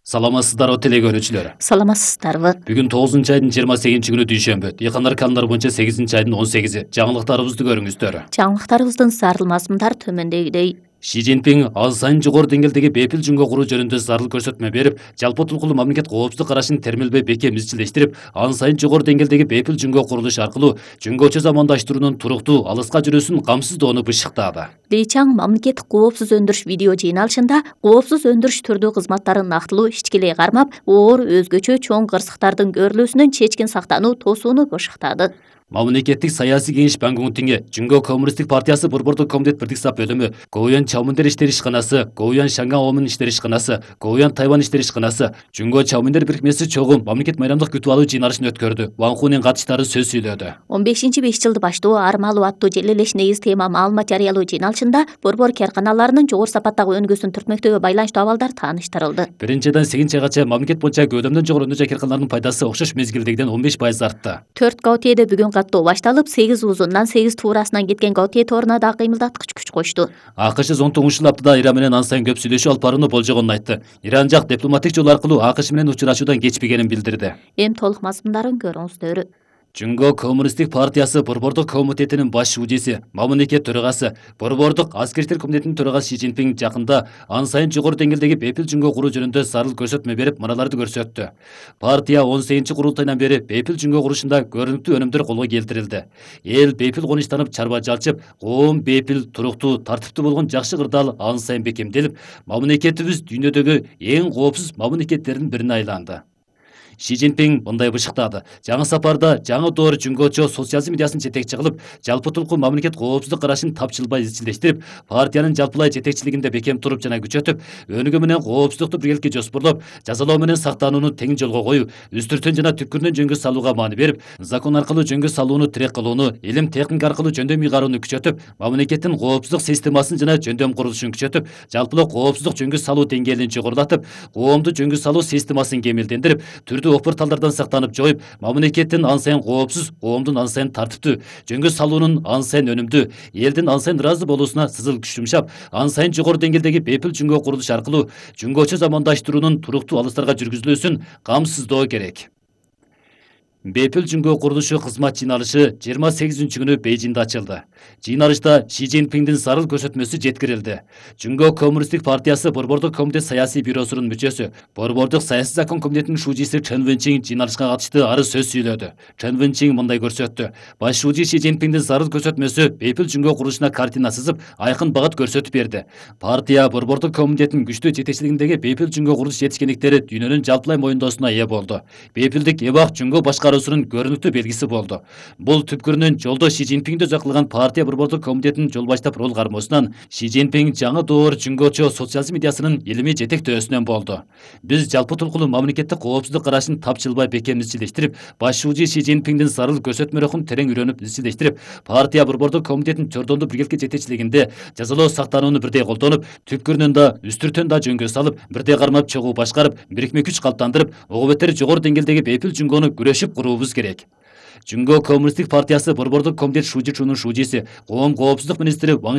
Саламатсыздарбы телекөрүүчүлөр. Саламатсыздарбы. Бүгүн 9 айдын 28 күнү дүйшөмбү. Дыйкандар календар боюнча 8 айдын 18. Жаңылыктарыбызды көрүңүздөр. Жаңылыктарыбыздын зарыл мазмундар төмөндөгүдөй. Ши Цзиньпин аз сайын жогору деңгээлдеги бепил жөнгө куруу жөнүндө зарыл көрсөтмө берип, жалпы тулкулуу мамлекет коопсуздук карашын термелбей бекем изчилештирип, ан сайын жогору деңгээлдеги бепил жөнгө курулуш аркылуу жөнгөчө замандаштыруунун туруктуу, алыска жүрүүсүн камсыздоону бышыктады. Ли Чаң мамлекеттик коопсуз өндүрүш видео жыйналышында коопсуз өндүрүш түрдүү кызматтарын нактылуу ичкилей кармап, оор өзгөчө чоң кырсыктардын көрүлүүсүнөн чечкин сактануу тосууну бышыктады. Мамлекеттик саясий кеңеш Пан Га Унтиңе Жүнгө Коммунисттик партиясы борбордук комитет бирдик сап бөлүмү, Гоуян Чаоминдер иштер ишканасы, Гоуян Шаңга Омун иштер ишканасы, Гоуян Тайвань иштер ишканасы, Жүнгө Чаоминдер бирикмеси чогуу мамлекет майрамдык күтүп алуу жыйналышын өткөрдү. Ван Хунин катышкычтары сөз сүйлөдү. 15-5 жылды баштоо армалуу аттуу желелеш негиз тема маалымат жарыялоо жыйналышында борбор карканаларынын жогору сапаттагы өнүгүүсүн түртмөктөгө байланыштуу абалдар тааныштырылды. 1-ден 8-чейгача мамлекет боюнча көөдөмдөн жогору өнүгүү карканаларынын пайдасы окшош мезгилдегиден 15% артты. 4 Гаутиеде бүгүн каттоо башталып, 8 узундан 8 туурасынан кеткен Гаутие тооруна да кыймылдаткыч күч кошту. АКШ 19 аптада Иран менен ан сайын көп сүйлөшүү алып барууну болжогонун айтты. Иран жак дипломатик жол аркылуу АКШ менен учурашуудан кечпегенин билдирди. Эми толук мазмундарын көрүңүздөр. Жүнгө Коммунисттик партиясы борбордук комитетинин баш шуудиси, мамлекет төрагасы, борбордук аскер комитетинин төрагасы Ши Цзиньпин жакында ан сайын жогору деңгээлдеги бепил жөнгө куруу жөнүндө зарыл көрсөтмө берип, мыналарды көрсөттү. Партия 18-курултайынан бери бепил жөнгө курушунда көрүнүктүү өнүмдөр колго келтирилди. Эл бепил конучтанып, чарба жалчып, коом бепил, туруктуу, тартиптүү болгон жакшы кырдаал ан сайын бекемделип, мамлекетибиз дүйнөдөгү эң коопсуз мамлекеттердин бирине айланды. Ши Цзиньпин мындай бышыктады. Жаңы сапарда жаңы доор жүнгөчө социализм идеясын жетекчи кылып, жалпы тулкуу мамлекет коопсуздук карашын тапчылбай изчилештирип, партиянын жалпылай жетекчилигинде бекем туруп жана күчөтүп, өнүгүү менен коопсуздукту биргеликке жоспорлоп, жазалоо менен сактанууну тең жолго коюп, үстүртөн жана түпкүрүнөн жөнгө салууга маани берип, закон аркылуу жөнгө салууну тирек кылууну, илим техника аркылуу жөндөм ыйгарууну күчөтүп, мамлекеттин коопсуздук системасын жана жөндөм курулушун күчөтүп, жалпылоо коопсуздук жөнгө салуу деңгээлин жогорулатып, коомду жөнгө салуу системасын кемелдендирип, опорталдардан сактанып жоюп, мамлекеттин ан сайын коопсуз, коомдун ан сайын тартиптүү, жөнгө салуунун ан сайын өнүмдүү, элдин ан сайын ыраазы болуусуна сызыл күч жумшап, ан сайын жогору деңгээлдеги бепил жөнгө курулуш аркылуу жөнгөчө замандаштыруунун туруктуу алыстарга жүргүзүлүүсүн камсыздоо керек. Бепил жөнгө курулушу кызмат жыйналышы 28-күнү Бейжиңде ачылды. Жыйналышта Ши Цзиньпиндин зарыл көрсөтмөсү жеткирилди. Жүнгө Коммунисттик партиясы борбордук комитет саясий бюросунун мүчөсү, борбордук саясий закон комитетинин шуудиси Чен Вэнчин жыйналышка катышты арыз сөз сүйлөдү. Чен Вэнчин мындай көрсөттү. Баш шууди Ши Цзиньпиндин зарыл көрсөтмөсү бепил жөнгө курулушуна картина сызып, айкын багыт көрсөтүп берди. Партия борбордук комитетинин күчтүү жетекчилигиндеги бепил жөнгө курулуш жетишкендиктери дүйнөнүн жалпылай моюндоосуна ээ болду. Бепилдик эбак жөнгө башкаруусунун көрүнүктүү белгиси болду. Бул түпкүрүнөн жолдо Ши Цзиньпинди өзөккылган партия борбордук комитетинин жол баштап рол кармоосунан Ши Цзиньпин жаңы доор жүнгөчө социализм идеясынын илимий жетектөөсүнөн болду. Биз жалпы тулкулуу мамлекеттик коопсуздук карашын тапчылбай бекем изчилештирип, баш шууди Ши Цзиньпиндин зарыл көрсөтмөлөрүн терең үйрөнүп изчилештирип, партия борбордук комитетинин чордондуу биргеликке жетекчилигинде жазалоо сактанууну бирдей колдонуп, түпкүрүнөн да, үстүртөн да жөнгө салып, бирдей кармап чогуу башкарып, бирикме күч калыптандырып, ого бетер жогору деңгээлдеги бепил жөнгөнү күрөшүп куруубуз керек. Жүнгө Коммунисттик партиясы борбордук комитет шуудичунун шуудиси, коом коопсуздук министри